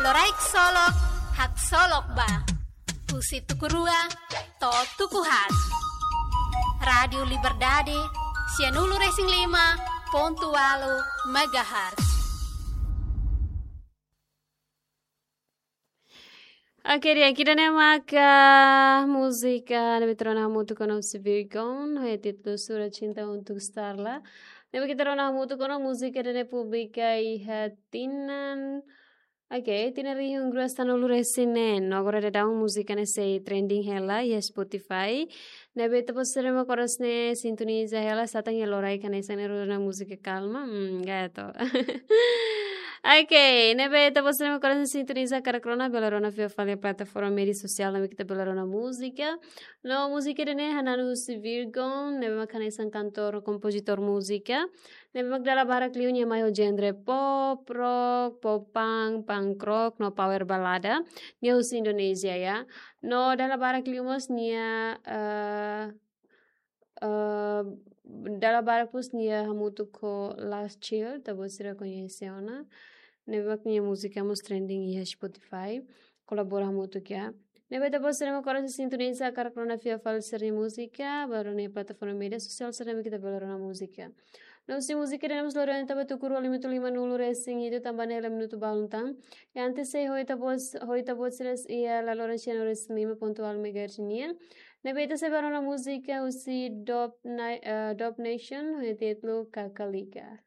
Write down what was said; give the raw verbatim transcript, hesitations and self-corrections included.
Loraik solok, haksolok ba. Husi tuku rua to'o tuku haat. Rádiu Liberdade, sianulu-resin-lima pontu ualu megahertz. Oke, di'ak, ida-ne'e maka múzika ne'ebé ita rona hamutuk ho Nosi Virgon, ho títulu Sura Cinta Untuk Starla. Ne'ebé ita rona hamutuk ho múzika ida-ne'e publika iha tinan, oke, tinan rihun rua sanulu-resin-neen. No agora daudaun múzika ne'e sei trending hela iha Spotify. Ne'ebé ita-boot sira mak oras ne'e sintoniza hela, satán iha loraik hanesan ne'e rona múzika kalma. Hmm, gato. Oke, ne'ebé ita-boot sira mak oras ne'e sintoniza hakarak rona, bele rona fila fali plataforma média sosiál ne'ebé ita bele rona múzika. No múzika ida-ne'e hananu husi Virgon, ne'ebé mak hanesan kantór, kompozitór múzika. Ne'ebé mak dala barak liu nia mai ho genre pop, rock, pop punk, punk rock, no power balada. Nia husi Indonézia, ya. No dala barak liu mós nia, eh, eh, dala barak mós nia hamutuk ho Last Chill, ita-boot sira koñese ona. Ne'ebé mak nia múzika mós trending iha Spotify. Kolabora hamutuk, ya. Ne'ebé ita-boot sira mak oras ne'e sintoniza hakarak rona fila fali sira-nia múzika, bele rona iha plataforma média sosiál sira ne'ebé ita bele rona múzika. No husi múzika ida-ne'e mós lori ona to'o ba tuku rua lima-nulu-resin-hitu, tanba ne'e hela minutu balun tan. I antes sei ho ita-boot, ho ita-boot sira iha laloran sianulu-resin-lima pontu ualu megahertz nian. Ne'ebé ita sei bá rona múzika husi Dub Na-, eh, Dub Nation, ho títulu Kakalika.